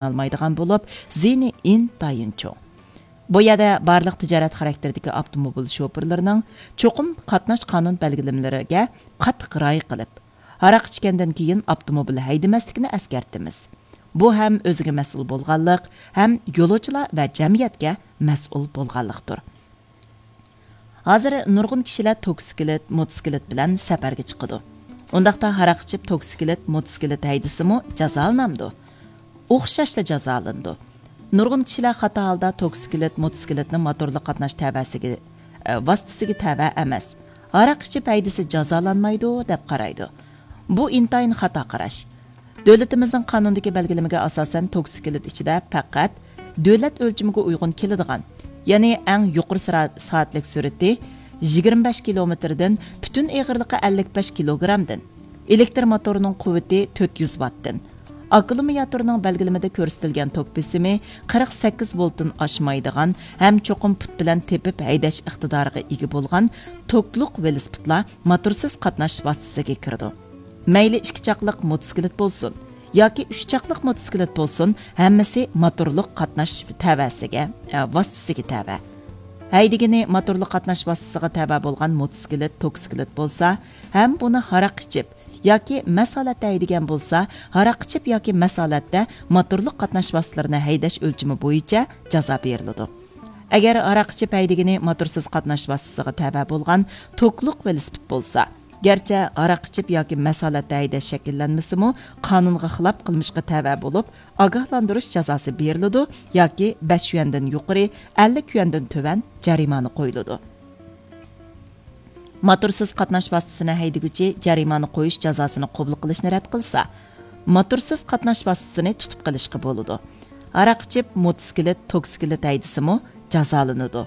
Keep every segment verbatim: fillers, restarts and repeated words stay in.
ئالمايدىغان بولۇپ، زىيىنى ئىنتايىن چوڭ. بۇ يەردە بارلىق تىجارەت خاراكتېرىدىكى ئاپتوموبىل شوپۇرلىرىنىڭ چوقۇم قاتناش قانۇن بەلگىلىمىلىرىگە قاتتىق رىئايە قىلىپ، ھاراق ئىچكەندىن كېيىن ئاپتوموبىل ھەيدىمەسلىكىنى ئەسكەرتىمىز. بۇ ھەم ئۆزىگە مەسئۇل بولغانلىق، ھەم يولۇچىلار ۋە جەمئىيەتكە مەسئۇل بولغانلىقتۇر. ھازىر نۇرغۇن كىشىلەر توكسىكلىت، موتوسىكلىت بىلەن سەپەرگە چىقىدۇ. ئۇنداقتا ھاراق ئىچىپ توكسىكلىت، موتوسىكلىت ھەيدىسىمۇ جازالىنامدۇ؟ ئوخشاشلا جازالىنىدۇ. نۇرغۇن كىشىلەر خاتا ھالدا توكسىكلىت، موتوسىكلىتنى موتورلۇق قاتناش تەۋەسىگە، ئە، ۋاسىتىسىگە تەۋە ئەمەس، ھاراق ئىچىپ ھەيدىسە جازالانمايدۇ دەپ قارايدۇ. بۇ ئىنتايىن خاتا قاراش. دۆلىتىمىزنىڭ قانۇندىكى بەلگىلىمىگە ئاساسەن، توكسىكلىت ئىچىدە پەقەت دۆلەت ئۆلچىمىگە ئۇيغۇن كېلىدىغان، يەنى ئەڭ يۇقىرى سىرا-، سائەتلىك سۈرئىتى يىگىرمە بەش كىلومېتىردىن، پۈتۈن ئېغىرلىقى ئەللىك بەش كىلوگرامدىن، ئېلېكتر موتورىنىڭ قۇۋۋىتى تۆت يۈز ۋاتتىن، ئاككۇمۇلياتورنىڭ بەلگىلىمىدە كۆرسىتىلگەن توك بېسىمى قىرىق سەككىز ۋولتتىن ئاشمايدىغان ھەم چوقۇم پۇت بىلەن تېپىپ ھەيدەش ئىقتىدارىغا ئىگە بولغان توكلۇق ۋېلىسىپىتلار موتورسىز قاتناش ۋاسىتىسىگە كىرىدۇ. مەيلى ئىككى چاقلىق موتوسىكلىت بولسۇن ياكى ئۈچ چاقلىق موتوسىكلىت بولسۇن، ھەممىسى موتورلۇق قاتناش تەۋەسىگە، ئە، ۋاسىتىسىگە تەۋە. ھەيدىگىنى موتورلۇق قاتناش ۋاسىتىسىغا تەۋە بولغان موتوسىكلىت، توكسىكلىت بولسا ھەم بۇنى ھاراق ئىچىپ ياكى مەست ھالەتتە ھەيدىگەن بولسا، ھاراق ئىچىپ ياكى مەست ھالەتتە موتورلۇق قاتناش ۋاسىتىلىرىنى ھەيدەش ئۆلچىمى بويىچە جازا بېرىلىدۇ. ئەگەر ھاراق ئىچىپ ھەيدىگىنى موتورسىز قاتناش ۋاسىتىسىغا تەۋە بولغان توكلۇق ۋېلىسىپىت بولسا، گەرچە ھاراق ئىچىپ ياكى مەست ھالەتتە ھەيدەش شەكىللەنمىسىمۇ، قانۇنغا خىلاپ قىلمىشقا تەۋە بولۇپ، ئاگاھلاندۇرۇش جازاسى بېرىلىدۇ ياكى بەش يۈەندىن يۇقىرى، ئەللىك يۈەندىن تۆۋەن جەرىمانە قويۇلىدۇ. موتورسىز قاتناش ۋاسىتىسىنى ھەيدىگۈچى جەرىمانە قويۇش جازاسىنى قوبۇل قىلىشنى رەت قىلسا، موتورسىز قاتناش ۋاسىتىسىنى تۇتۇپ قېلىشقا بولىدۇ. ھاراق ئىچىپ موتوسىكلىت، توكسىكلىت ھەيدىسىمۇ جازالىنىدۇ.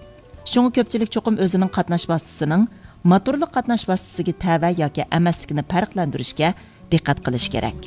شۇڭا كۆپچىلىك چوقۇم ئۆزىنىڭ قاتناش ۋاسىتىسىنىڭ موتورلۇق قاتناش ۋاسىتىسىگە تەۋە ياكى ئەمەسلىكىنى پەرقلەندۈرۈشكە دىققەت قىلىش كېرەك.